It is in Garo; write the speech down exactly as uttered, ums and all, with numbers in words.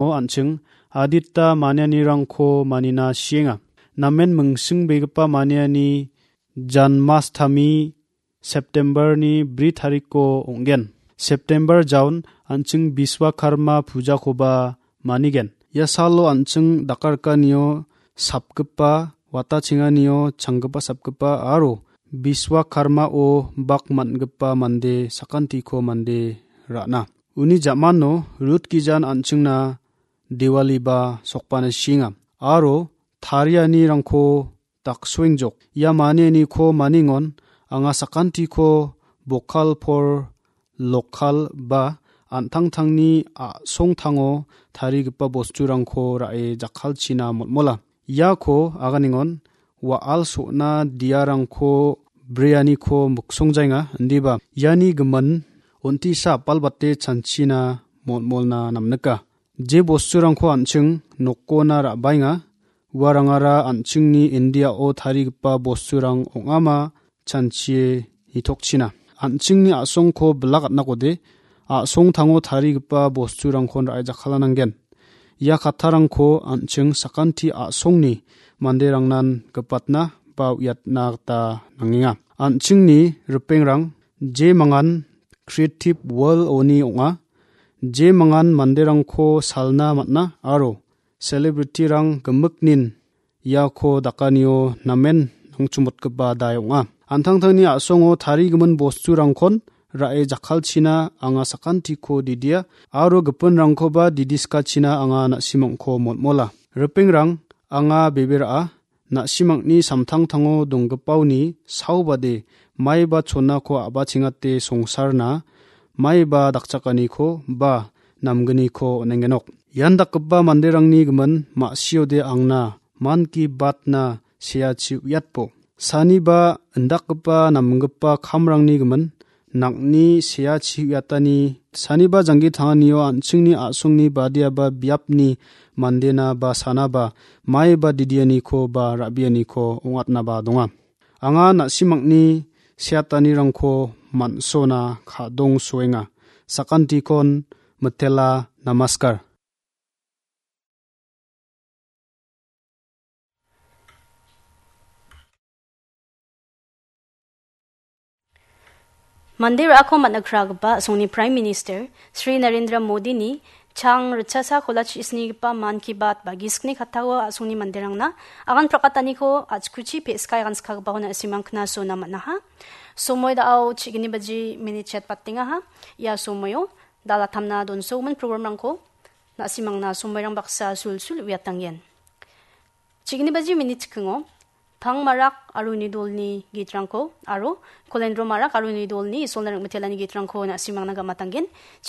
an·ching adita manianirangko manina sienga. Namen mingsingbegipa maniani Janmashtami September-ni bri tariko ong·gen. September jaon an·ching Biswakarma pujakoba manigen. Ia salo an·ching dakarikanio sapgipa, watachenganio changgipa sapgipa aro Biswakarmao bak man·gipa mande sakantiko mande ra·na. Uni ja·mano Rut gijan an·chingna Diwaliba sokbana sienga. Aro tarianirangko daksoengjok. Ia manianiko maningon anga sakantiko bokal por lokal ba an·tangtangni a·songtango tarigipa bosturangko ra·e jakkalchina motmola. Iako aganengon wa·al so·na diarangko breaniko miksongjaenga, indiba iani gimin on·tisa apalbate chanchina motmolna namnika. Je bosturangko an·ching nokona ra·baenga, uarangara an·chingni Indiao tarigipa bosturang ong·ama chanchie nitokchina. An·chingni a·songko bilak atnakode, a·songtango tarigipa bosturangkon ra·e jakkalananggen. Ia kattarangko an·ching sakanti a·songni manderangnan gipatna ba uiatna gita nangenga. An·chingni ripengrang je mangan Creative World-oni ong·a. Je mangan manderangko salna man·a aro celebrity-rang gimiknin iako dakanio namen nangchimotgipa dai ong·a. An·tangtangni a·songo tarigimin bosturangkon ra·e jakkalchina anga sakantiko didia aro gipinrangkoba didiskachina anga na·simangko motmola. Ripengrang, anga bebe ra·a, na·simangni samtangtango donggipaoni saobade maiba chonako a·bachengate songsarna maiba dakchakaniko ba namgniko on·engenok. Ian dakgipa manderangni gimin ma·siode angna man ki batna seachi uiatbo. Saniba indakgipa namgipa kamrangni gimin nang·ni seachi uiatani saniba janggi tanganio an·chingni a·songni badiaba biapni mandena ba sanaba maiba didianiko ba ra·bianiko ong·atnaba donga. Anga na·simangni seatanirangko man·sona ka·dong soenga. Sakantikon mitela, namaskar. Mande ra·ako man·a kragipa a·songni Prime Minister Shri Narendra Modini chang ritchasa kolachri snigipa Mann Ki Baat ba gisikni kattao a·songni manderangna agan prakataniko achkuchi pe·skai agan skagipako na·simang knasona man·aha. Somoi da·ao chigni baji minit chet batengaha. Ia somoio dalatamna donsogimin programrangko na·simangna somoirang baksa sulsul uiatanggen. Chigni baji minit chikingo Pang Marak aro uni dolni gitrangko aro Kolendro Marak aro uni dolni Isolna ring·mitelani gitrangko na·simangna gamatanggen.